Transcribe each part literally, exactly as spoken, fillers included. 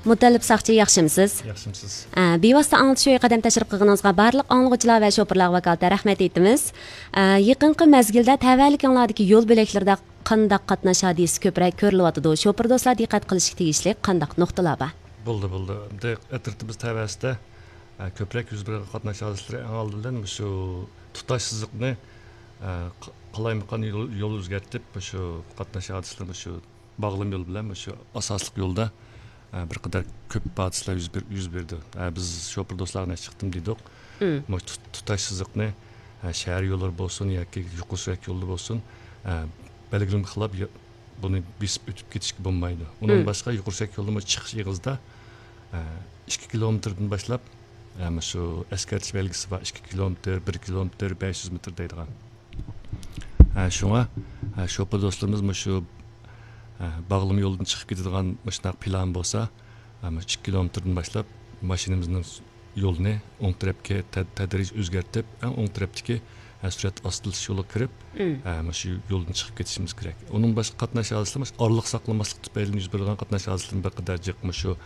مۇتەللىپ ساقچى، ياخشىمسىز؟ ياخشىمسىز؟ ئە، بىۋاسىتە ئاڭلىتىش ئۆيى قەدەم تەشرىپ قىلغىنىڭىزغا بارلىق ئاڭلىغۇچىلار ۋە شوپۇرلارغا ۋاكالىتەن رەھمەت ئېيتىمىز. ئە، يېقىنقى مەزگىلدە تەۋەلىكىڭلاردىكى يول بۆلەكلىرىدە قانداق قاتناش ھادىسىسى كۆپرەك كۆرۈلۈۋاتىدۇ؟ شوپۇر دوستلار دىققەت قىلىشقا تېگىشلىك قانداق نۇقتىلار بار؟ بولدى، بولدى. ئەمدى ئەترىتىمىز تەۋەسىدە، ئە، كۆپرەك يۈز بېرىدىغان قاتناش ھادىسىلىرى ئەڭ ئالدى بىلەن مۇشۇ تۇتاش سىزىقنى، ئە، ق-، قالايمىقان يول، يول ئۆزگەرتىپ، مۇشۇ قاتناش ھادىسىلىرى مۇشۇ باغلىما يول بىلەن مۇشۇ ئاساسلىق يولدا، ئە، بىر قەدەر كۆپ ھادىسىلەر يۈز بېر-، يۈز بېرىدۇ. ئە، بىز شوپۇر دوستلارغا نەچچە قېتىم دېدۇق. مم. مۇشۇ تۇت-، تۇتاش سىزىقنى، ئە، شەھەر يوللىرى بولسۇن ياكى يۇقىرى سۈرئەت يولىدا بولسۇن، ئە، بەلگىلىمىگە خىلاپ يا-، بۇنى بېسىپ ئۆتۈپ كېتىشكە بولمايدۇ. ئۇنىڭدىن مم. باشقا يۇقىرى سۈرئەت يولىدا چىقىش ئېغىزىدا، ئە، ئىككى كىلومېتىردىن باشلاپ، ئە، مۇشۇ ئەسكەرتىش بەلگىسى بار، ئىككى كىلومېتىر، بىر كىلومېتىر، بەش يۈز مېتىر دەيدىغان. ھە، شۇڭا، ھە، شوپۇر دوستلىرىمىز مۇشۇ، ھە، باغلىما يولدىن چىقىپ كېتىدىغان مۇشۇنداق پىلان بولسا، ھە، مۇشۇ ئىككى كىلومېتىردىن باشلاپ ماشىنىمىزنىڭ يولىنى ئوڭ تەرەپكە تە-، تەدرىجىي ئۆزگەرتىپ، ئەڭ ئوڭ تەرەپتىكى، ھە، سۈرئەت ئاستىلاش يولىغا كىرىپ، مم. ھە، مۇشۇ يولدىن چىقىپ كېتىشىمىز كېرەك. ئۇنىڭ باشقا قاتناش ھادىسىلىرى مۇشۇ ئارىلىق ساقلىماسلىق تۈپەيلىدىن يۈز بېرىدىغان قاتناش ھادىسىلىرى بىر قەدەر جىق. مۇشۇ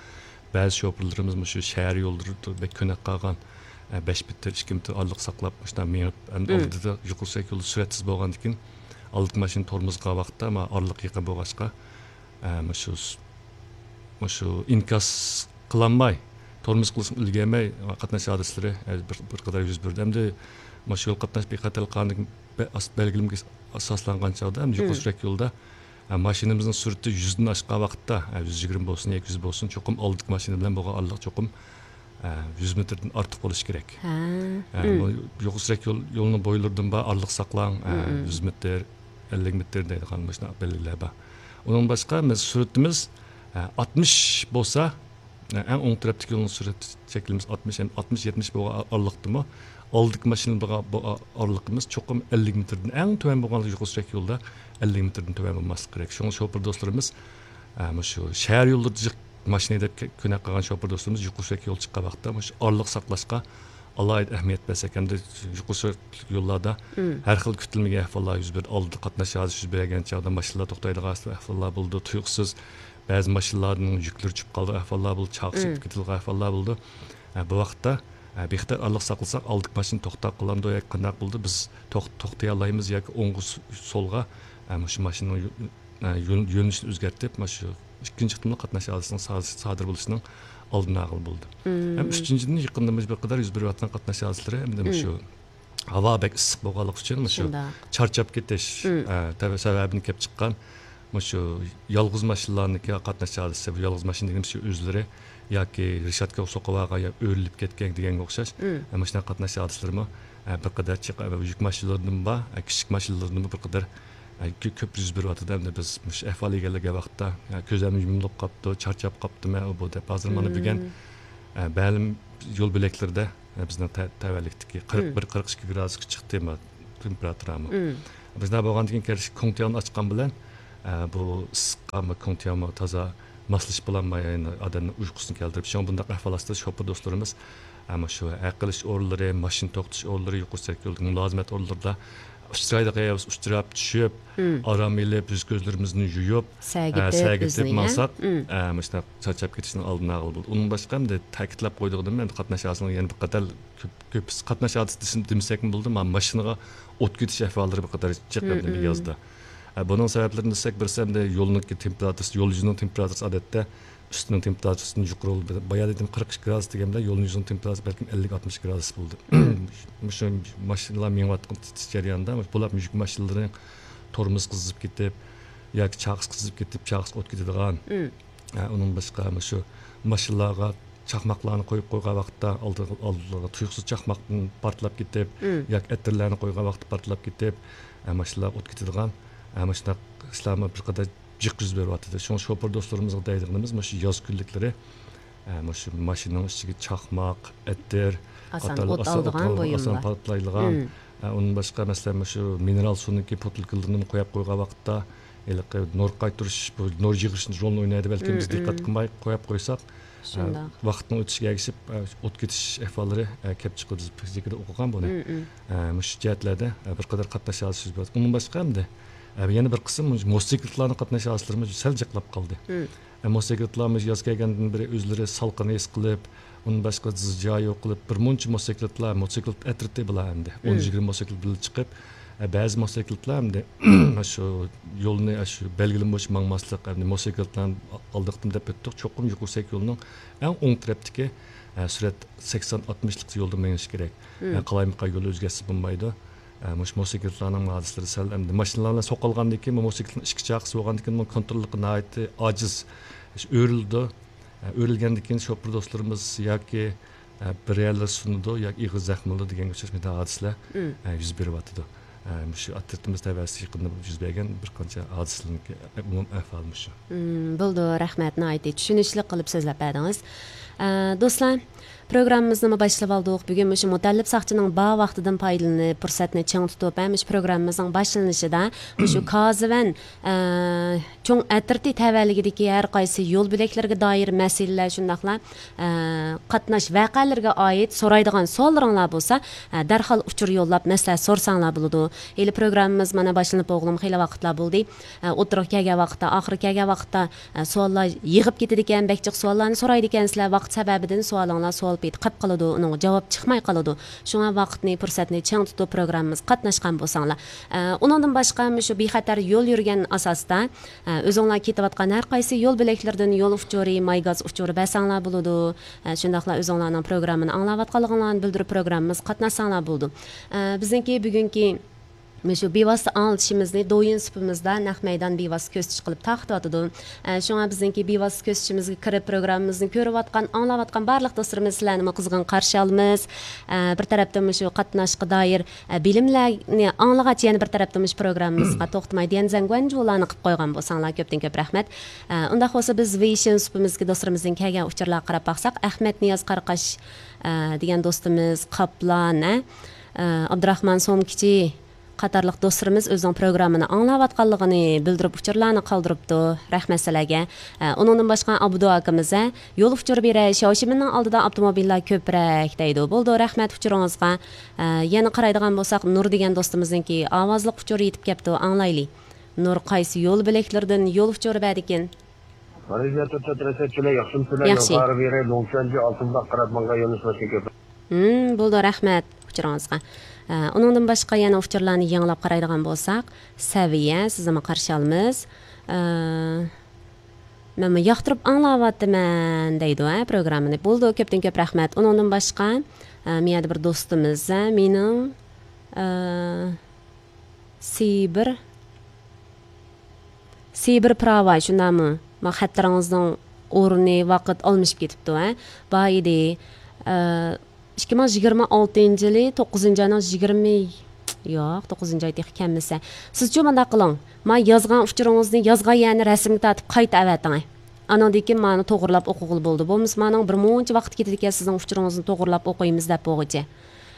بەزى شوپۇرلىرىمىز مۇشۇ شەھەر يوللىرىدا بەك كۆنۈپ قالغان، ئە، بەش مېتىر، ئىككى مېتىر ئارىلىق ساقلاپ، مۇشۇنداق مېڭىپ، ئەمدى مم. ئالدىدا يۇقىرى سۈرئەت يولى سۈرئەتسىز بولغاندىكىن، ئالدىدىكى ماشىنا تورمۇز قىلغان ۋاقىتتا، مانا ئارىلىق يېقىن بولغاچقا، ئە، مۇشۇ، مۇشۇ ئىنكاس قىلالماي، تورمۇز قىلىشقا ئۈلگۈرمەي، قاتناش ھادىسىلىرى، ئە، بىر، بىر قەدەر يۈز بەردى. ئەمدى مۇشۇ يول قاتناش بىخەتەرلىك قانۇنىدىكى بە-، ئاس-، بەلگىلىمىگە ئاساسلانغان چاغدا، ئەمدى يۇقىرى مم. سۈرئەت يولىدا ئە، ماشىنىمىزنىڭ سۈرئىتى يۈزدىن ئاشقان ۋاقىتتا، ئە، يۈز يىگىرمە بولسۇن ياكى يۈز بولسۇن، چوقۇم ئالدىدىكى ماشىنا بىلەن بولغان ئارىلىق چوقۇم، ئە، يۈز مېتىردىن ئارتۇق بولۇشى كېرەك. ھە. ئە، مم. بۇ يۇقىرى سۈرئەت يول، يولىنىڭ بويلىرىدىن بار ئارىلىق ساقلاڭ، ئە، مم. يۈز مېتىر، ئەللىك مېتىر دەيدىغان مۇشۇنداق بەلگىلەر بار. ئۇنىڭ باشقا بىز سۈرئىتىمىز، ئە، ئاتمىش بولسا، ئەڭ ئوڭ تەرەپتىكى يولنىڭ سۈرئەت چەكلىمىسى ئاتمىش، ئاتمىش، يەتمىش بولغان ئارىلىقتىمۇ، ئالدىكى ماشىنا بولغان بۇ ئارىلىقىمىز چوقۇم ئەللىك مېتىردىن، ئەڭ تۆۋەن بولغان يۇقىرى سۈرئەت يولىدا ئەللىك مېتىردىن تۆۋەن بولماسلىقى كېرەك. شۇڭا شوپۇر دوستلىرىمىز، ئە، مۇشۇ شەھەر يوللىرىدا جىق ماشىنا ھەيدەپ كە-، كۆنۈپ قالغان شوپۇر دوستلىرىمىز يۇقىرى سۈرئەت يول چىققان ۋاقىتتا مۇشۇ ئارىلىق ساقلاشقا ئالاھىدە ئەھمىيەت بەرسەك ھەمدە يۇقىرى سۈرئەت يوللاردا مم. ھەر خىل كۈتۈلمىگەن ئەھۋاللار يۈز بېرىدۇ. ئالدىدا قاتناش ھادىسىسى يۈز بەرگەن چاغدا ماشىنىلار توختايدىغان ئەھۋاللار بولىدۇ. تۇيۇقسىز بەزى ماشىنىلارنىڭ يۈكلىرى چۈشۈپ قالىدىغان ئەھۋاللار بولىدۇ، چاقىسى مم. كېتىدىغان ئەھۋاللار بولىدۇ. ئە، بۇ ۋاقىتتا، ئە، بىخەتەر ئارىلىق ساقلىساق، ئالدىدىكى ماشىنا توختاپ قالامدۇ ياكى قانداق بولىدۇ، بىز توخ-، توختىيالايمىز ياكى ئوڭغا س-، سولغا، ئە، مۇشۇ ماشىنىنىڭ يۆ-، ئە، يۆن-، يۆنىلىشىنى ئۆزگەرتىپ، مانا شۇ ئىككىنچى قېتىملىق قاتناش ھادىسىسىنىڭ سا-، سادىر بولۇشىنىڭ ئالدىنى ئالغىلى بولىدۇ. مم. ھەم ئۈچىنچىدىن، يېقىندا مۇشۇ بىر قەدەر يۈز بېرىۋاتقان قاتناش ھادىسىلىرى ھەمدە مم. مۇشۇ ھاۋا بەك ئىسسىق بولغانلىقى ئۈچۈن مۇشۇ شۇنداق. چارچاپ كېتىش، مم. ئە، تەۋە-، سەۋەبىدىن كېلىپ چىققان مۇشۇ يالغۇز ماشىنىلارنىڭكى قاتناش ھادىسىسى، بۇ يالغۇز ماشىنا دېگىنىمىز شۇ ئۆزلىرى ياكى رېشاتكا سوقۇۋالغان يا ئۆرۈلۈپ كەتكەن دېگەنگە ئوخشاش، مم. ئە، مۇشۇنداق قاتناش ھادىسىلىرىمۇ، ئە، بىر قەدەر چىق-، ئە، يۈك ماشىنىلىرىدىمۇ بار، ئە، كىچىك ماشىنىلىرىدىمۇ بىر قەدەر، ئە، كۆ-، كۆپ يۈز بېرىۋاتىدۇ. ئەمدى بىز مۇشۇ ئەھۋالغا كەلگەن ۋاقىتتا، ئە، كۆزلەرمۇ يۇمۇلۇپ قاپتۇ، چارچاپ قاپتۇ، مەن ئۇ بۇ دەپ. ھازىر مانا بۈگۈن، مم. ئە، مەلۇم يول بۆلەكلىرىدە بىزنىڭ تە-، تەۋەلىكتىكى قىرىق بىر، مم. قىرىق ئىككى گرادۇسقا چىقتى، ما، تېمپېراتۇرامۇ. مم. بىز نېمە بولغاندىكىن، كەلسە كوڭتياۋنى ئاچقان بىلەن، ئە، بۇ ئىسسىققا، ما، كوڭتياۋمۇ تازا ماسلىشىپ بولالماي، يەنە ئادەمنىڭ ئۇيقۇسىنى كەلتۈرۈپ. شۇڭا بۇنداق ئەھۋال ئاستىدا شوپۇر دوستلىرىمىز، ئە، مۇشۇ ھەق ئېلىش ئورۇنلىرى، ماشىنا توختىتىش ئورۇنلىرى، يۇقىرى سۈرئەت يولىدىكى مۇلازىمەت ئورۇنلىرىدا ئۇچرايدىغان يەر بولسا ئۇچراپ چۈشۈپ، مم. ئارام ئېلىپ، يۈز كۆزلىرىمىزنى يۇيۇپ، سەگىتىپ ئە، سەگىتىپ ئۆزىنى، ماڭساق، مم. ئە، مۇشۇنداق چارچاپ كېتىشنىڭ ئالدىنى ئالغىلى بولىدۇ. ئۇنىڭ باشقا ئەمدى تەكىتلەپ قويىدىغىنىم، ئەمدى قاتناش ھادىسىنىڭ يەنە بىر قەدەر كۆپ، كۆپ قاتناش ھادىسىسى دېسىم-، دېمىسەكمۇ بولىدۇ، مانا ماشىنىغا ئوت كېتىش ئەھۋاللىرى بىر قەدەر جىق مم، ئەمدى مم. يازدا. ئە، بۇنىڭ سەۋەبلىرىنى دېسەك، بىرسى ئەمدى يولنىڭكى تېمپېراتۇرىسى، يول يۈزىنىڭ تېمپېراتۇرىسى ئادەتتە ئۈستىنىڭ تېمپېراتۇرىسىدىن يۇقىرى بولىدۇ. بايا دېدىم، قىرىق ئىككى گرادۇس دېگەن بىلەن يولنىڭ يۈزىنىڭ تېمپېراتۇرىسى بەلكىم ئەللىك، ئاتمىش گرادۇس بولىدۇ. مم. مۇشۇ ماشىنىلار مېڭىۋاتقان جەرياندا بولۇپمۇ يۈك ماشىنىلىرىنىڭ تورمۇزى قىزىپ كېتىپ ياكى چاقىسى قىزىپ كېتىپ، چاقىسىغا ئوت كېتىدىغان. مم. ئە، ئۇنىڭ باشقا مۇشۇ ماشىنىلارغا چاقماقلارنى قويۇپ قويغان ۋاقىتتا ئالدىغا، ئالدىغا تۇيۇقسىز چاقماقتىن پارتلاپ كېتىپ، مم. ياكى ئەتىرلەرنى قويغان ۋاقىتتا پارتلاپ كېتىپ، ئە، ماشىنىلارغا ئوت كېتىدىغان، ئە، مۇشۇنداق ئىشلارمۇ بىر قەدەر جىق يۈز بېرىۋاتىدۇ. شۇڭا شوپۇر دوستلىرىمىزغا دەيدىغىنىمىز، مۇشۇ ياز كۈنلۈكلىرى، ئە، مۇشۇ ماشىنىنىڭ ئىچىگە چاقماق، ئەتىر ئاسان قاتارلىق ئوت ئاسان ئالىدىغان ئوت ئالىدىغان، ئاسان بۇيۇملار. پارتلايدىغان، مم. ئە، ئۇنىڭ باشقا، مەسىلەن، مۇشۇ مىنېرال سۇنىڭكى پوتۇلكىلىرىنىمۇ قويۇپ قويغان ۋاقىتتا، ھېلىقى نۇر قايتۇرۇش، بۇ نۇر يىغىش رولىنى ئوينايدۇ. بەلكىم مم، بىز دىققەت مم. قىلماي قويۇپ قويساق، شۇنداق. ئە، ۋاقىتنىڭ ئۆتۈشىگە ئەگىشىپ، ئە، ئوت كېتىش ئەھۋاللىرى، ئە، كەپ چىقىدۇ. بىز فىزىكىدا ئوقۇغان بۇنى. مم، مم. ئە، مۇشۇ جەھەتلەردە، ئە، بىر قەدەر قاتناش ھادىسىسى يۈز بېرىۋاتىدۇ. ئۇنىڭ باشقا ئەمدى، ئە، يەنە بىر قىسىم موتوسىكلىتلارنىڭ قاتناش ھادىسىلىرىمۇ سەل جىقلاپ قالدى. مم. موتوسىكلىتلار مۇشۇ ياز كەلگەندىن بېرى ئۆزلىرى سالقىن ھېس قىلىپ، ئۇندىن باشقا زىجيا يوقىلىپ، بىر مۇنچە موتوسىكلىتلار، موتوسىكلىت ئەترىتى بۇلار ئەمدى. ئون، مم، يىگىرمە موتوسىكلىت بىللە چىقىپ، ئە، بەزى موتوسىكلىتلار ئەمدى شۇ يولنى، شۇ بەلگىلىمە بويىچە ماڭماسلىق، ئەمدى موتوسىكلىتلارنى ئالدىقتىن دەپ ئۆتتۇق. چوقۇم يۈكسەك يولنىڭ ئەڭ ئوڭ تەرەپتىكى، ئە، سۈرئەت سەكسەن، ئاتمىشلىق يولدا مېڭىش كېرەك. مم. ئە، قالايمىقان يول ئۆزگەرتسە بولمايدۇ. ئە، مۇشۇ موتوسىكلىتلارنىڭ ھادىسىلىرى سەل ئەمدى ماشىنىلار بىلەن سوقۇلغاندىن كېيىن، بۇ موتوسىكلىتنىڭ ئىچكى چاقىسى بولغاندىن كېيىن، بۇنىڭ كونتروللۇقى ناھايىتى ئاجىز. ئۆرۈلىدۇ. ئە، ئۆرۈلگەندىن كېيىن شوپۇر دوستلىرىمىز ياكى، ئە، بىر يەرلىرى سۇنىدۇ ياكى ئېغىر زەخىم ئالىدۇ دېگەنگە ئوخشاش مۇنداق ھادىسىلەر، مم، ئە، يۈز بېرىۋاتىدۇ. ئە، مۇشۇ ئەترىتىمىز تەۋەسىدە يېقىندا يۈز بەرگەن بىر قانچە ھادىسىلەرنىڭكى ئومۇمىي ئەھۋالى مۇشۇ. مم، بولىدۇ، رەھمەت، ناھايىتى چۈشىنىشلىك قىلىپ سۆزلەپ بەردىڭىز. ئە، دوستلار، پروگراممىمىزنىمۇ باشلىۋالدۇق. بۈگۈن مۇشۇ مۇتەللىپ ساقچىنىڭ بار ۋاقتىدىن پايدىلىنىپ، پۇرسەتنى چىڭ تۇتۇپ، ھەم مۇشۇ پروگراممىمىزنىڭ باشلىنىشىدا مۇشۇ كازىۋەن، ئە، چوڭ ئەترىتى تەۋەلىكىدىكى ھەر قايسى يول بۆلەكلىرىگە دائىر مەسىلىلەر، شۇنداقلا، ئە، قاتناش ۋەقەلىرىگە ئائىت سورايدىغان سوئاللىرىڭلار بولسا، ئە، دەرھال ئۇچۇر يوللاپ مەسلىھەت سورىساڭلار بولىدۇ. ھېلى پروگراممىمىز مانا باشلىنىپ بولغىلىمۇ خېلى ۋاقىتلار بولدى. ئە، ئوتتۇرىغا كەلگەن ۋاقىتتا، ئاخىرى كەلگەن ۋاقىتتا، ئە، سوئاللار يىغىپ كېتىدىكەن، بەك جىق سوئاللارنى سورايدىكەنسىلەر، ۋاقىت سەۋەبىدىن سوئالىڭلار سوئال پېتى قېلىپ قالىدۇ، ئۇنىڭغا جاۋاب چىقماي قالىدۇ. شۇڭا ۋاقىتنى، پۇرسەتنى چىڭ تۇتۇپ پروگراممىمىزغا قاتناشقان بولساڭلار. ئە، ئۇنىڭدىن باشقا مۇشۇ بىخەتەر يول يۈرگەن ئاساستا، ئە، ئۆزۈڭلار كېتىۋاتقان ھەر قايسى يول بۆلەكلىرىدىن يول ئۇچۇرى، ماي گاز ئۇچۇرى بەرسەڭلار بولىدۇ. ئە، شۇنداقلا ئۆزۈڭلارنىڭ پروگراممىنى ئاڭلاۋاتقانلىقىڭلارنى بىلدۈرۈپ پروگراممىمىزغا قاتناشساڭلار بولىدۇ. ئە، بىزنىڭكى بۈگۈنكى مۇشۇ بىۋاسىتە ئاڭلىتىشىمىزنى دويىن سۇپىمىزدا نەق مەيدان بىۋاسىتە كۆرسىتىش قىلىپ تارقىتىۋاتىدۇ. ئە، شۇڭا بىزنىڭكى بىۋاسىتە كۆرسىتىشىمىزگە كىرىپ، پروگراممىمىزنى كۆرۈۋاتقان، ئاڭلاۋاتقان بارلىق دوستلىرىمىز سىلەرنىمۇ قىزغىن قارشى ئالىمىز. ئە، بىر تەرەپتىن مۇشۇ قاتناشقا دائىر، ئە، بىلىملەرنى ئاڭلىغاچ، يەنە بىر تەرەپتىن مۇشۇ پروگراممىمىزغا توختىماي ديەنزەنگۇەنجۇلارنى قىلىپ قويغان بولساڭلار كۆپتىن كۆپ رەھمەت. ئە، ئۇنداق بولسا بىز ۋېيشىن سۇپىمىزدىكى دوستلىرىمىزدىن كەلگەن ئۇچۇرلارغا قاراپ باقساق، ئەخمەت نىياز قاراقاش، ئە، دېگەن دوستىمىز، قاپلان، ئە، ئە، ئابدۇراخمان سومكىچى، قاتارلىق دوستلىرىمىز ئۆزىنىڭ پروگراممىنى ئاڭلاۋاتقانلىقىنى بىلدۈرۈپ ئۇچۇرلارنى قالدۇرۇپتۇ. رەھمەت سىلەرگە. ئە، ئۇنىڭدىن باشقا ئابدۇ ئاكىمىز، ھە، يول ئۇچۇر بېرەي، شياۋشىمىننىڭ ئالدىدا ئاپتوموبىللار كۆپرەك دەيدۇ. بولىدۇ، رەھمەت ئۇچۇرىڭىزغا. ئە، يەنە قارايدىغان بولساق، نۇر دېگەن دوستىمىزنىڭكى ئاۋازلىق ئۇچۇرى يېتىپ كەپتۇ، ئاڭلايلى. نۇر قايسى يول بۆلەكلىرىدىن يول ئۇچۇرى بەردىكىن؟ مانا ياخشىمۇسىلەر؟ ياخشى. يول قارا بېرى، لوڭچۈەنجى، ئالتۇن باغ قاراپ ماڭغان يولنىڭ باشىنى كۆپ. مم، بولىدۇ، رەھمەت ئۇچۇرىڭىزغا. ئە، ئۇنىڭدىن باشقا يەنە ئۇچۇرلارنى يېڭىلاپ قارايدىغان بولساق، سەۋىيە، سىزنىمۇ قارشى ئالىمىز. ئە، مەنمۇ ياقتۇرۇپ ئاڭلاۋاتىمەن دەيدۇ، ھە، پروگراممىنى. بولىدۇ، كۆپتىن كۆپ رەھمەت. ئۇنىڭدىن باشقا، ئە، مۇ يەردە بىر دوستىمىز، ھە، مېنىڭ، ئە، سىبىر سىبىر پىراۋاي، شۇنداقمۇ؟ ما خەتلىرىڭىزنىڭ ئورنى، ۋاقىت ئالمىشىپ كېتىپتۇ، ھە؟ بار ئىدى. ئىككى مىڭ يىگىرمە ئالتىنچى يىلى توققۇزىنچى ئاينىڭ يىگىرمە، ياق، توققۇزىنچى ئاي تېخى كەلمىسە. سىزچۇ مۇنداق قىلىڭ. ما يازغان ئۇچۇرىڭىزنى يازغان يەرنى رەسىمگە تارتىپ قايتا ئەۋەتىڭ. ئانىڭدىن كېيىن مانى توغرىلاپ ئوقۇغىلى بولىدۇ. بولمىسا مانىڭ بىر مۇنچە ۋاقىت كېتىدىكەن، سىزنىڭ ئۇچۇرىڭىزنى توغرىلاپ ئوقۇيمىز دەپ بولغۇچە.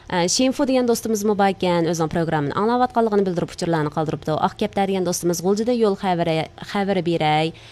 ئە، شىنفۇ دېگەن دوستىمىزمۇ باركەن، ئۆزىنىڭ پروگراممىنى ئاڭلاۋاتقانلىقىنى بىلدۈرۈپ ئۇچۇرلارنى قالدۇرۇپتۇ. ئاق كەپتەر دېگەن دوستىمىز غۇلجىدا يول خەۋىرى، خەۋىرى بېرەي.